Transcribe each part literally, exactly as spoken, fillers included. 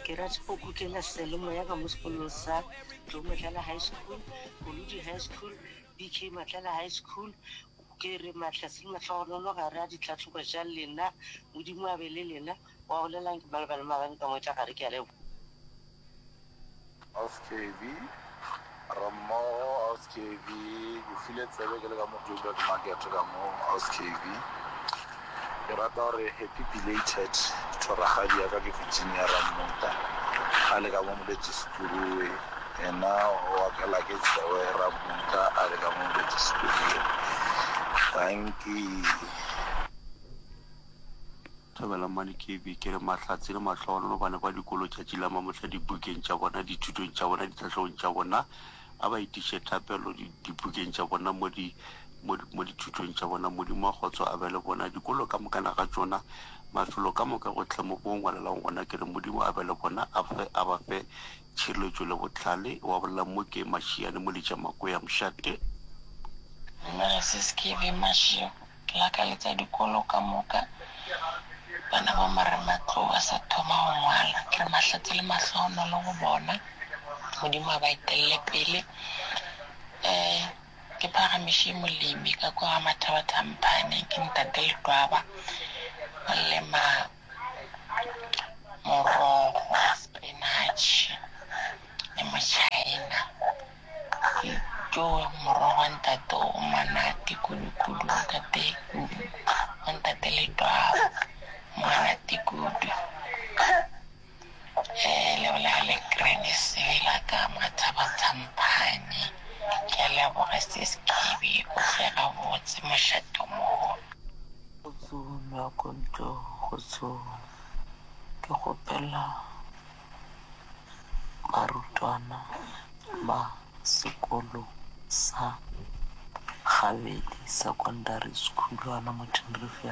Ke rata go kukela seyalemoya ka mo sekolong sa Tlou Matlala High School, Kolodi High School, B K Matlala High School. Ke re mahlatse le mahlogonolo gare a ditlhahlobo tša lena. Modimo a be le lena. Wa bolelang ke Malebana Maabane ka mo tša gare. Ke a leboga. Aus K B, re mmogo. Aus K B, ke file tsebe ke le ka mo Joburg Market ka mo. Aus K B, ke rata gore happy belated to rakgadi ya ka ke Virginia Rammutla a le ka mo Moletši-Seturuwe, yena o akela ke Tsewe Rammutla a le ka mo Moletši-Seturuwe. Dankie. Thobela Mmane K B, ke re mahlatse le mahlogonolo bana ba dikolo tšatši la mamohla dibukeng tša bona, dithutong tša bona, ditlhahlobong tša bona. A ba itiše thapelo dibukeng tša bona, mo di, mo, mo dithutong tša bona. Modimo wa kgotso a be le bona. Dikolo ka mokana ga tšona, mafelo ka moka gohle mo bo ngwalelang gona, ke re Modimo a be le bona, a fe, a ba fe tšhireletšo le bohlale. Wa bolela mo ke Mašiane Moletša Makoya Mošate. Dumela sis K B Mašego, ke lakaletša dikolo ka moka bana ba marematlou ba sa thoma go ngwala. Ke re mahlatse le mahlohonolo go bona, Modimo a ba etelele pele. Um ke phagamiše molemi ka kwa ga Mathabathamphane, ke ntate Letwaba, o lema morogo, spinach le mochina. Ke morogo wa ntate o monate kudu-kudu, ntate wa ntate Letwaba, monate kudu. Um le bolela le Granny Sebela ka Mathabathamphane. Ke a leboga sis K B, o tle gabotse mošate o mogolo. Kgotsong Makonto, kgotsong. Ke kgopela barutwana ba sekolo sa Gabedi Secondary School hona mo Tenerife.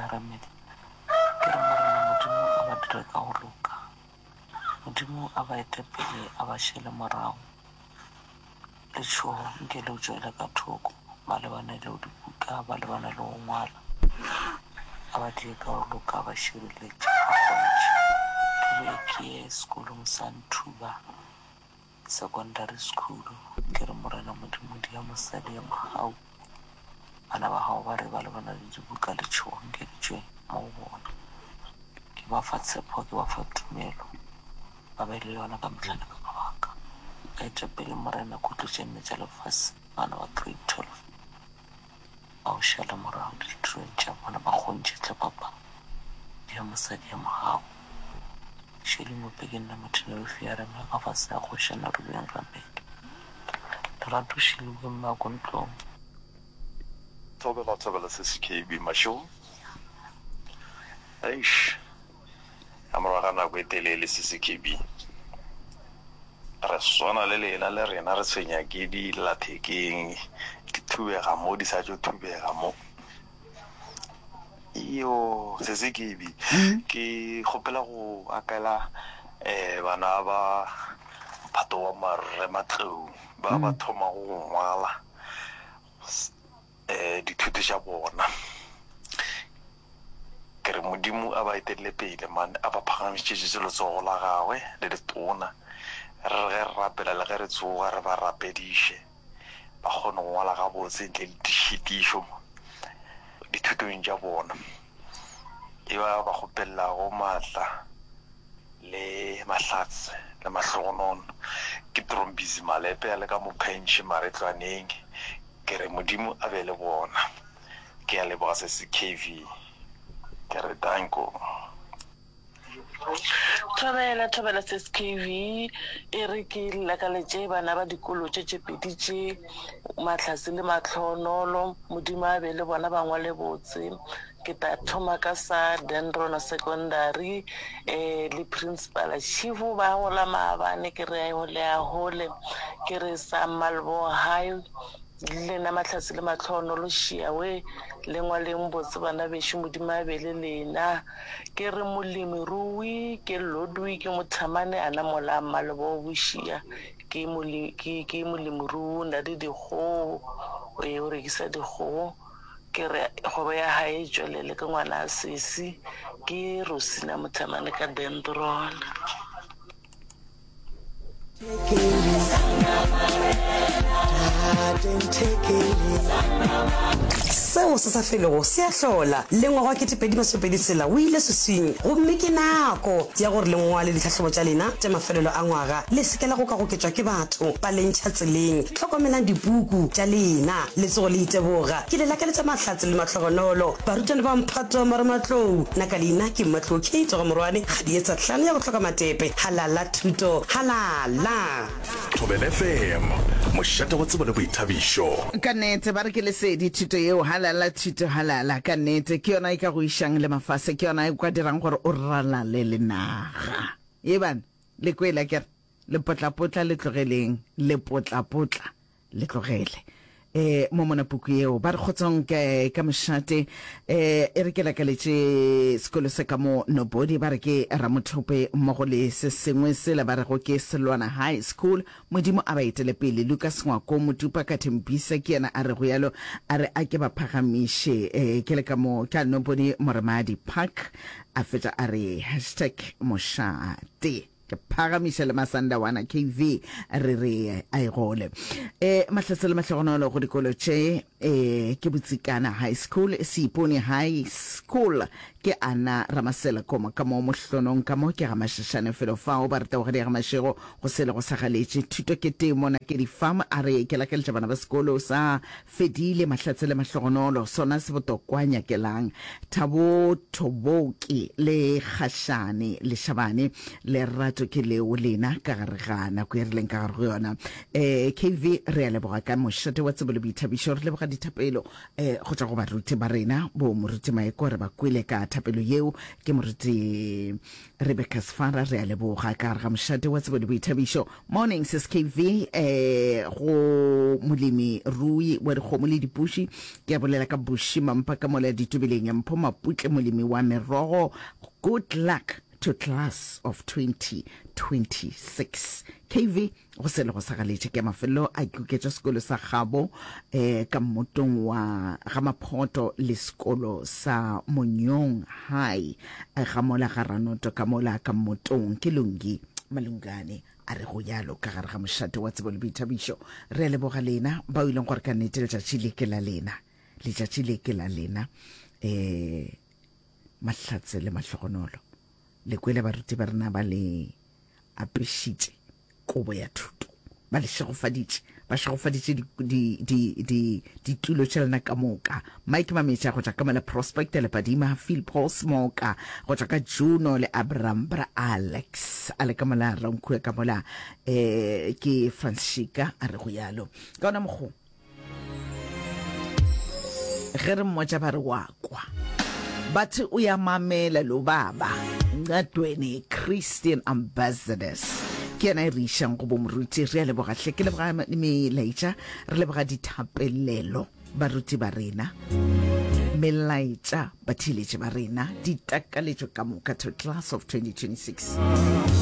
Ke re Morena Modimo a ba dire ka go loka. Modimo a ba ete pele, a ba šele morago. Letšhogo nke le tšwele ka thoko, ba lebane le dibuka, ba lebane le go ngwala. A ba die ka go loka, ba šireletše, a kgontšhe. Ke be ke ye sekolong sa Nthuba Secondary School. Ke re Morena Modimo dia mosadi ya mogau. Bana ba gago ba re ba lebana le dibuka, letšhogo nke le tšwe mo go bona. Ke ba fa tshepo, ke ba fa tumelo, ba be le yona ka mehla le ka mabaka. Ba ete pele Morena kutlo tše nne tša lefase, bana ba grade twelve. Ba o šale morago ditirong tša bona, ba kgontšhe tle papa dia mosadi ya mogau. Shirley Mope ke nna Motenerife ya rena ka fase ya kgošana Rubeng Ramele. Lerato Shilwe Mmakontlong. Thobela, thobela sesi K B Mašego. Eish, ka morago ga nako e telele sesi K B. Re swana le lena le rena re tshwenya ke dillathekeng, di thubega mo di sa tšo thubega mo. Iyo, sesi K B, ke kgopela go akela eh bana ba mphato wa marematlou ba ba thomago go ngwala eh dithuto tša bona. Ke re Modimo a ba etelele pele man, a ba phagamišetše letsogo la gagwe le letona. Re re ge re rapela le ge re tsoga re ba rapediše, ba kgone go ngwala gabotse ntle le dišitišo dithutong tša bona. E ba ba kgopelago maatla le mahlatse le mahlogonono ke Trombisi Malepe a le ka mo Pentšhe Maretlwaneng. Ke re Modimo a be le bona. Ke a leboga sesi K V. Ke re danko. Thobela, thobela sis K V, e re ke lakaletše bana ba dikolo tše tše pedi tše, Mahlatse le Mahlohonolo, Modimo a be le bona ba ngwale botse. Ke tla thoma ka sa Dendron Secondary eh le principal Chief ba gola maabane, ke re le a hole. Ke re sa Malbo High le lena Mahlatse le Mahlohonolo šiawe le ngwaleng botse bana bešo, Modimo a be le lena. Ke re molemirui ke Ludwig Mothamane ana mola Malbo Bošia, ke mole ke ke molemirui, o na le dikgogo, o rekisa dikgogo. Ke re kgwebo ya hae e tšwelele, ke ngwana a sesi, ke Rosina Mothamane ka Dendron. Seo se sa felego se a hlola. Le ngwaga wa ketepedi masomepedi tshela o ile seswing, gomme ke nako ya gore le ngwale ditlhahlobo tša lena tša mafelelo a ngwaga. Le se ke la gokagoketšwa ke batho ba le ntšha tseleng. Hlokomelang dipuku tša lena, le tsoge le iteboga. Ke le lakaletša mahlatse le mahlogonolo, barutwana ba mphato wa marematlou. Nna ka leina ke Mmatlou Kate wa ga Morwane, Kgadietsa hlano ya go hloka matepe. Halala thuto, halala! Thobela F M, mošate wa tsebo le boithabišo. Ka nnete, ba re ke lesedi thuto yeo. Halala thuto, halala. Ka nnete, ke yona e ka go išang le mafase, ke yona e ka dirang gore o ralale le naga. Ye bana, le kwele akere? Lepotlapotla le tlogeleng, lepotlapotla le tlogele. E, mo mona puku yeo, ba re kgotsong ka, ka mošate, e, e re ke lakaletše sekolo se ka mo Nobody, ba re ke Ramothope mmogo le se sengwe sela ba rego ke Selwana High School. Modimo a ba etele pele. Lucas Ngwako Motupa ka Thembisa ke yena a rego yalo, a re a ke ba phagamiše. E, ke le ka mo ka Nobody Moremadi Park, a fetša a re hashtag mošate. Ke phagamiša le Masandawana K V re re a e gole. E, mahlatse le mahlogonolo go dikolo tše, e, ke Botsikana High School, Seipone High School, ke Ana Ramasela Koma ka mo Mohlonong ka mo ke ga Mashashane felo fao ba re tabogedi ya ga Mashego go sele go sa galetše thuto ke temo Nakedi Farm a re ke lakaletša bana ba sekolo sa Fedile mahlatse le mahlogonolo sona se botokwa nyakelang Thabo Thoboki le Kgašane Leshabane lerato ke leo lena ka gare ga nako e re leng ka gare go yona. Eh, K V re a leboga ka mošate wa tsebo le boithabišo re leboga dithapelo eh, go tšwa go baruti ba rena bo moruti Maeko re ba kwele ka thapelo yeo ke moruti Rebecca Sefara re a leboga ka gare ga mošate wa tsebo le boithabišo. Morning sis K V eh, go molemi rui wa dikgomo le dipuši ke a bolela ka Buši Mampa ka mola ditobeleng Mpho Maputle molemi wa merogo good luck to class of twenty twenty-six. K V go se le go sa galetše ke mafelelo a kuketša sekolo sa gabo eh, ka mmotong wa ga Maphoto le sekolo sa Monyong High eh, ga mola ga Ranoto ka mola ka mmotong ke Lungi Malungane a re go yalo ka gare ga mošate wa tsebo le boithabišo. Re a leboga lena bao e leng gore ka nnete letšatši le ke la lena, letšatši le ke la lena eh mahlatse le mahlogonolo. Le kwele baruti ba rena ba le apešitše kobo ya thuto, ba le šegofaditše, ba šegofaditše ditulo tša lena ka moka. Mike Mametša go tšwa ka mola Prospect le Padima, Philpos Moka go tšwa ka Juno le Abraham Bra Alex a le ka mola Rankhue ka mola eh ke Franschika a re go yalo. Ka ona mokgo ge re mmotša ba re wa kwa bathi o ya mamela lo baba Ncadweni Christian Ambassadors ke yena e re išang go bo moruti. Re a leboga hle, ke leboga melaetša, re leboga dithapelelo baruti ba rena, melaetša batheeletši ba rena, ditakaletšo ka moka to class of twenty twenty-six.